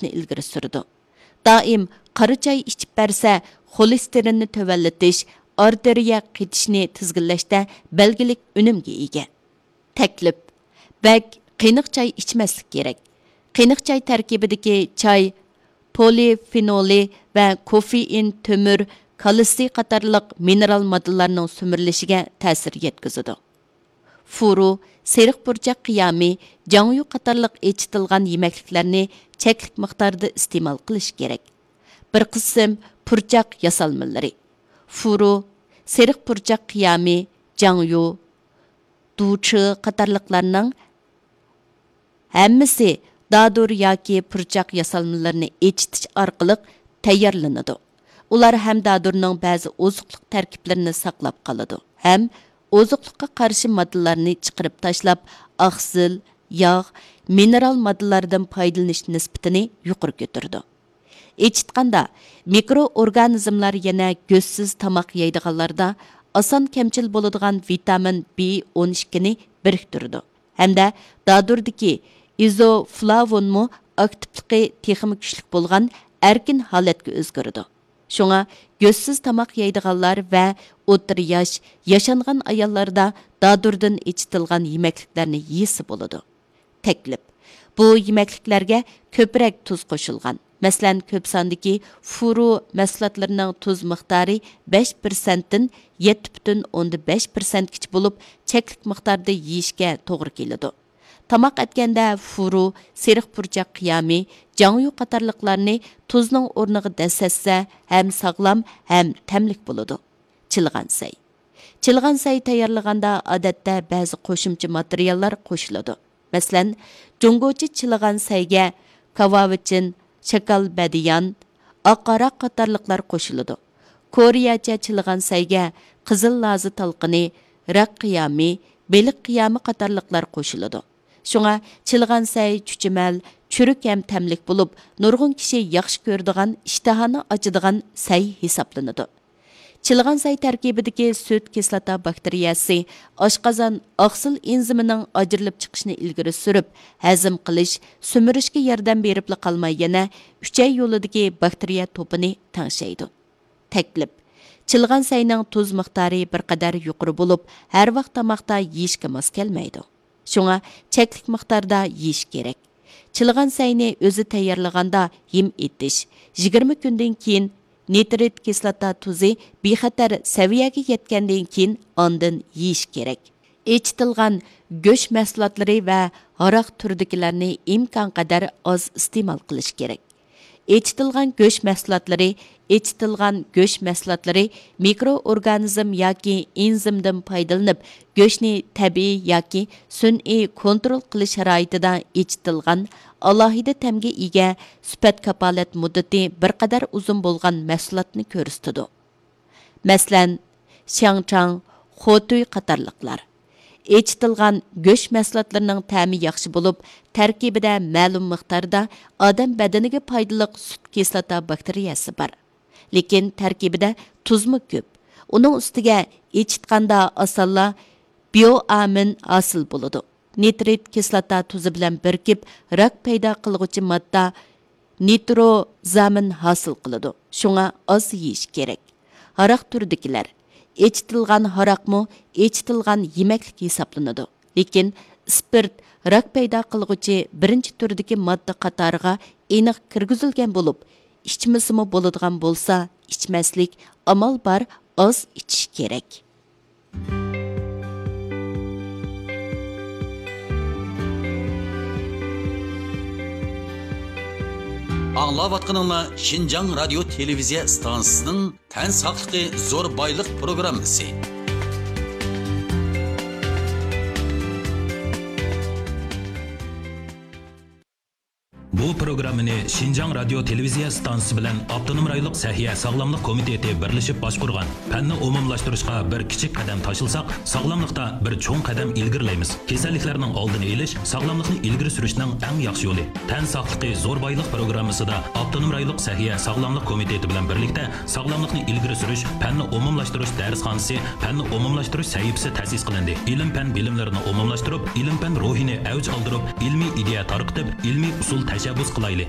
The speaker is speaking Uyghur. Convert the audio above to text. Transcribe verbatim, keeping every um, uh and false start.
مەسلىھەتنى ئىلگىرى سۈرىدۇ. دائىم قارا چاي ئىچىپ بەرسە، خولېستېرىننى تۆۋەنلىتىش، ئارتېرىيە قېتىشنى تىزگىنلەشتە بەلگىلىك ئۈنۈمگە ئىگە. تەكلىپ: بەك قېنىق چاي ئىچمەسلىك كېرەك. قېنىق چاي تەركىبىدىكى چاي پولىفېنولى ۋە كوفېئىن تۆمۈر، كالتسىي قاتارلىق مىنېرال ماددىلارنىڭ سۈمۈرۈلۈشىگە تەسىر يەتكۈزىدۇ. فۇرۇ، سېرىق پۇرچاق قىيامى، جاڭيۇ قاتارلىق ئېچىتىلغان يېمەكلىكلەرنى چەكلىك مىقداردا ئىستېمال قىلىش كېرەك. بىر قىسىم پۇرچاق ياسالمىلىرى. فۇرۇ، سېرىق پۇرچاق قىيامى، جاڭيۇ، دۇچې قاتارلىقلارنىڭ ھەممىسى دادۇر ياكى پۇرچاق ياسالمىلىرىنى ئېچىتىش ئارقىلىق تەييارلىنىدۇ. ئۇلار ھەم دادۇرنىڭ بەزى ئوزۇقلۇق تەركىبلىرىنى ساقلاپ قالىدۇ ھەم ئوزۇقلۇققا قارشى ماددىلارنى چىقىرىپ تاشلاپ، ئاقسىل، ياغ، مىنېرال ماددىلاردىن پايدىلىنىش نىسبىتىنى يۇقىرى كۆتۈرىدۇ. ئېچىتقاندا، مىكرو ئورگانىزملار يەنە گۆشسىز تاماق يەيدىغانلاردا ئاسان كەمچىل بولىدىغان ۋىتامىن بى ئون ئىككىنى بىرىكتۈرىدۇ ھەمدە دادۇردىكى ئىزوفلاۋونمۇ ئاكتىپلىقى تېخىمۇ كۈچلۈك بولغان ئەركىن ھالەتكە ئۆزگىرىدۇ. شۇڭا گۆشسىز تاماق يەيدىغانلار ۋە ئوتتۇرا ياش، ياشانغان ئاياللاردا دادۇردىن ئېچىتىلغان يېمەكلىكلەرنى يېسە بولىدۇ. تەكلىپ: بۇ يېمەكلىكلەرگە كۆپرەك تۇز قوشۇلغان، مەسىلەن، كۆپ ساندىكى فۇرۇ مەھسۇلاتلىرىنىڭ تۇز مىقدارى بەش پىرسەنتتىن يەتتە پۈتۈن ئوندىن بەش پىرسەنتكىچە بولۇپ، چەكلىك مىقداردا يېيىشكە توغرا كېلىدۇ. تاماق ئەتكەندە فۇرۇ، سېرىق پۇرچاق قىيامى، جاڭيۇ قاتارلىقلارنى تۇزنىڭ ئورنىغا دەسسەتسە، ھەم ساغلام، ھەم تەملىك بولىدۇ. چىلىغان سەي. چىلىغان سەي تەييارلىغاندا، ئادەتتە، بەزى قوشۇمچە ماتېرىياللار قوشۇلىدۇ. مەسىلەن، جۇڭگوچە چىلىغان سەيگە كاۋاۋىچىن، شاكال بەدىيان، ئاق ھاراق قاتارلىقلار قوشۇلىدۇ. كورېيەچە چىلىغان سەيگە قىزىل لازا تالقىنى، راك قىيامى، بېلىق قىيامى قاتارلىقلار قوشۇلىدۇ. شۇڭا چىلىغان سەي چۈچۈمەل، چۈرۈك ھەم تەملىك بولۇپ، نۇرغۇن كىشى ياخشى كۆرىدىغان، ئىشتىھانى ئاچىدىغان سەي ھېسابلىنىدۇ. چىلىغان سەي تەركىبىدىكى سۈت كىسلاتا باكتېرىيەسى ئاشقازان ئاقسىل ئېنزىمىنىڭ ئاجرىلىپ چىقىشىنى ئىلگىرى سۈرۈپ، ھەزىم قىلىش، سۈمۈرۈشكە ياردەم بېرىپلا قالماي، يەنە ئۈچەي يولىدىكى باكتېرىيە توپىنى تەڭشەيدۇ. تەكلىپ: چىلىغان سەينىڭ تۇز مىقدارى بىر قەدەر يۇقىرى بولۇپ، ھەر ۋاق تاماقتا يېيىشكە ماس كەلمەيدۇ. شۇڭا چەكلىك مىقداردا يېيىش كېرەك. چىلىغان سەينى ئۆزى تەييارلىغاندا ھىم ئېتىش، يىگىرمە كۈندىن كېيىن نىترىت كىسلاتا تۇزى بىخەتەر سەۋىيەگە يەتكەندىن كېيىن ئاندىن يېيىش كېرەك. ئېچىتىلغان گۆش مەھسۇلاتلىرى ۋە ھاراق تۈرىدىكىلەرنى ئىمكانقەدەر ئاز ئىستېمال قىلىش كېرەك. ئېچىتىلغان گۆش مەھسۇلاتلىرى، ئېچىتىلغان گۆش مەھسۇلاتلىرى مىكرو ئورگانىزم ياكى ئېنزىمدىن پايدىلىنىپ، گۆشنى تەبىئىي ياكى سۈنئىي كونترول قىلىش شارائىتىدا ئېچىتىلغان، ئالاھىدە تەمگە ئىگە، سۈپەت كاپالەت مۇددىتى بىر قەدەر ئۇزۇن بولغان مەھسۇلاتنى كۆرسىتىدۇ. مەسىلەن، شياڭچاڭ، خوتۈي قاتارلىقلار. ئېچىتىلغان گۆش مەھسۇلاتلىرىنىڭ تەمى ياخشى بولۇپ، تەركىبىدە مەلۇم مىقداردا ئادەم بەدىنىگە پايدىلىق سۈت كىسلاتا باكتېرىيەسى بار. لېكىن تەركىبىدە تۇزمۇ كۆپ. ئۇنىڭ ئۈستىگە ئېچىتقاندا ئاسانلا بىئوئامىن ھاسىل بولىدۇ. نىترىت كىسلاتا تۇزى بىلەن بىرىكىپ، راك پەيدا قىلغۇچى ماددا نىتروزامىن ھاسىل قىلىدۇ. شۇڭا ئاز يېيىش كېرەك. ھاراق تۈرىدىكىلەر. ئېچىتىلغان ھاراقمۇ ئېچىتىلغان يېمەكلىك ھېسابلىنىدۇ. لېكىن ئىسپىرت راك پەيدا قىلغۇچى بىرىنچى تۈردىكى ماددا قاتارىغا ئېنىق كىرگۈزۈلگەن بولۇپ، ئىچمىسىمۇ بولىدىغان بولسا، ئىچمەسلىك، ئامال بار ئاز ئىچىش كېرەك. ئاڭلاۋاتقىنىڭلار شىنجاڭ رادىيو تېلېۋىزىيە ئىستانسىسىنىڭ تەن ساقلىقى زور بايلىق پروگراممىسى. بۇ پروگراممىنى شىنجاڭ رادىيو تېلېۋىزىيە ئىستانسىسى بىلەن ئاپتونوم رايونلۇق سەھىيە ساغلاملىق كومىتېتى بىرلىشىپ باشقۇرغان. پەننى ئومۇملاشتۇرۇشقا بىر كىچىك قەدەم تاشلىساق، ساغلاملىقتا بىر چوڭ قەدەم ئىلگىرىلەيمىز. كېسەللىكلەرنىڭ ئالدىنى ئېلىش، ساغلاملىقنى ئىلگىرى سۈرۈشنىڭ ئەڭ ياخشى يولى. تەن ساقلىقى زور بايلىق پروگراممىسىدا ئاپتونوم رايونلۇق سەھىيە ساغلاملىق كومىتېتى بىلەن بىرلىكتە ساغلاملىقنى ئىلگىرى سۈرۈش، پەننى ئومۇملاشتۇرۇش دەرسخانىسى، پەننى ئومۇملاشتۇرۇش سەھىپىسى تەسىس قىلىندى. ئىلىم-پەن بىلىملىرىنى ئومۇملاشتۇرۇپ، ئىلىم-پەن روھىنى ئەۋج ئالدۇرۇپ، ئىلمىي ئىدىيە تارقىتىپ، ئىلمىي ئۇسۇل تەشەببۇس قىلايلى.